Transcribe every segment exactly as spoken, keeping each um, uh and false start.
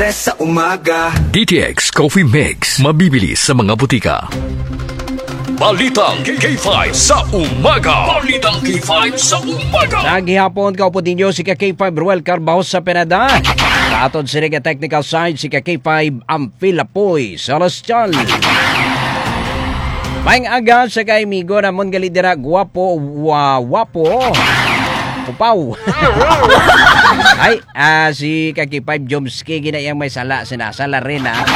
Sa umaga. D T X Coffee Mix, mabibili sa mga butika. Balitang K five sa umaga. Balitang K five sa umaga. Sa gihapon, kaupod ninyo si ka K five Ruel Carbajo sa Pinada. Sa aton sini nga technical side, si ka K five Amphil Apoy Celestial. Maayong aga sa kay amigo namon gali dira, guwapo, wa-, wapo. Upaw. Ay, ah, si ka K five Jomski, ginayang may sala, sinasala rin, ah.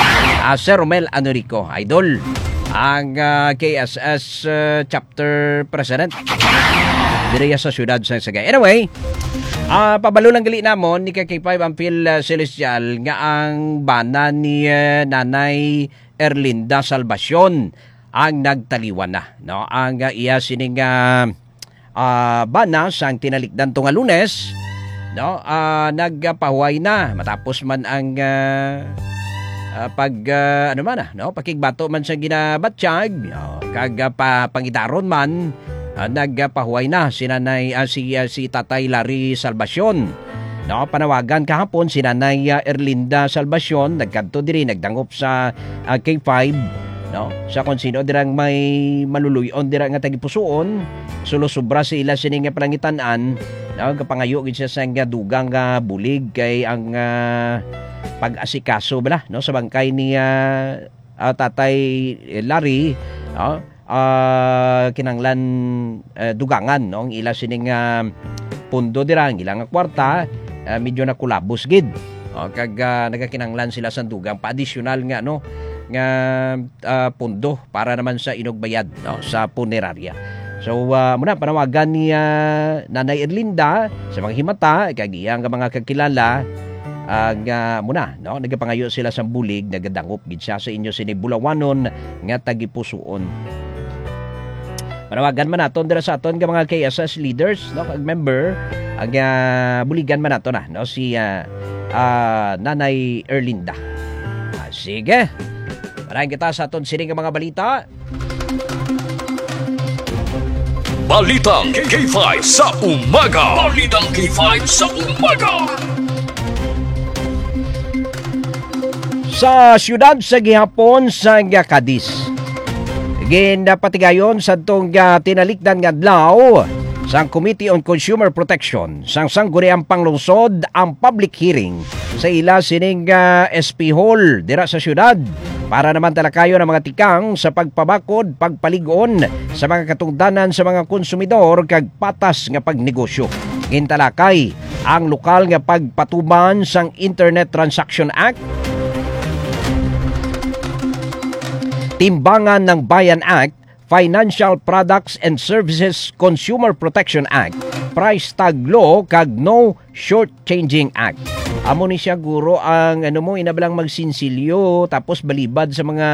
Ah, Sir Romel Anorico, idol. Ang, ah, K S S, ah, chapter president. Diri sa siyudad sa Sagay. Anyway, ah, pabalo lang gali namon ni ka K five Amphil, ah, Celestial nga ang bana ni, ah, Nanay Erlinda Salvacion ang nagtaliwan na, no? Ang, ah, iya sining, ah, ah, bana sang tinalikdan to nga Lunes, no? Ah, nagpahuway na matapos man ang, ah, ah, pag, ah, ano man, ah, no? Pakigbato man sa ginabatyag, no? Kag, ah, pa-, pangidaron man, ah, nagpahuway na si Nanay, ah, si, ah, si Tatay Larry Salvacion. No, panawagan kahapon si Nanay, ah, Erlinda Salvacion, nagkadto diri, nagdangop sa, ah, K five, no, sa kung sino dirang may maluluy-on dira nga tagipusuon, sulo sobra sa ila sini nga palangitan-an, no, gapangayo gid siya sa nga dugang nga bulig kay ang, ah, pag-asikaso bala, no, sa bangkay ni, ah, ah, Tatay Larry, no, ah, kinahanglan, eh, dugangan, no, ang ila sining, ah, pondo dira, ang ila nga kwarta, ah, medyo nakulabos gid. O, kag, ah, nagakinahanglan sila sang dugang pa-additional nga, no, nga, ah, pondo para naman sa inugbayad, no, sa punerarya. So, ah, muna, panawagan ni, ah, Nanay Erlinda sa mga himata, kag iya nga mga kakilala, ah, nga muna, no, nagapangayo sila sang bulig, nagadangop gid siya sa inyo sini bulawanon nga tagipusuon. Panawagan man naton dira sa aton nga mga K S S leaders, no, kag member, ang, ah, buligan man nato na, no, si, ah, ah, Nanay Erlinda. Ah, sige. Marahin kita sa aton sini nga mga balita. Balitang K five sa umaga. Balitang K five sa umaga. Sa siyudad sa gihapon sa nga Cadiz, ginapatigayon sa tong, ah, tinalikdan nga adlaw sang Committee on Consumer Protection sang Sangguniang Panglungsod ang public hearing sa ila sining, ah, S P Hall dira sa siyudad para naman talakayon ang mga tikang sa pagpabakod, pagpalig-on sa mga katungdanan sa mga konsumidor kag patas nga pagnegosyo. Gintalakay ang lokal nga pagpatuman sang Internet Transaction Act, Timbangan ng Bayan Act, Financial Products and Services Consumer Protection Act, Price Tag Law, kag No Shortchanging Act. Amo ni siya, guro, ang ano mo, inabalang magsinsilyo, tapos balibad sa mga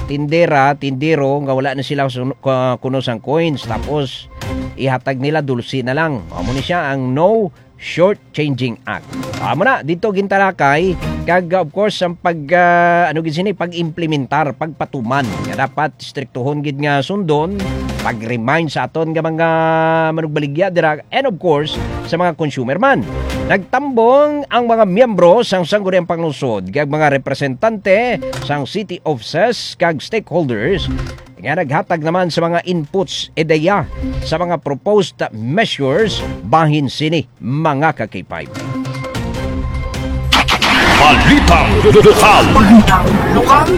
tindera, tindero, nga wala na sila sun-, ka-, kuno sang coins, tapos ihatag nila dulce na lang. Amo ni siya ang No Shortchanging Act. Amo na, dito gintalakay, kag, of course, ang pag, ah, ano gid sini, pag-implementar, pagpatuman, nga dapat striktuhon gid nga sundon, pag-remind sa aton nga mga manugbaligya dira, and of course, sa mga consumer man. Nagtambong ang mga miyembro sang Sangguniang Panglungsod kag mga representante sang city offices kag stakeholders nga naghatag naman sa mga inputs, ideya sa mga proposed measures bahin sini, mga ka-K five. Balitang lokal.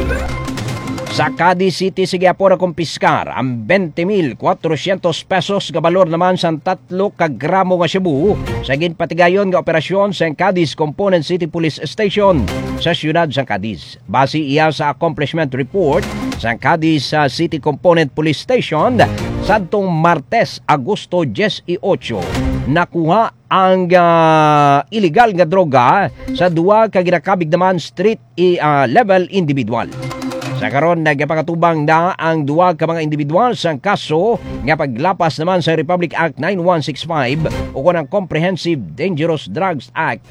Sa Cadiz City, sa gihapon nakumpiskar ang twenty mil quatrocientos pesos nga balor naman sang tatlo ka gramo nga shabu sa ginpatigayon nga operasyon sa Cadiz Component City Police Station sa siyudad sa Cadiz. Base iya sa accomplishment report sa Cadiz, ah, City Component Police Station, sadtong Martes, Agosto dieciocho, nakuha ang, ah, iligal nga droga sa duwa ka ginakabig naman street i-, ah, level individual. Sa karon, nagapakatubang na ang duwa ka mga individual sa kaso nga paglapas naman sa Republic Act nine one six five o kon ang Comprehensive Dangerous Drugs Act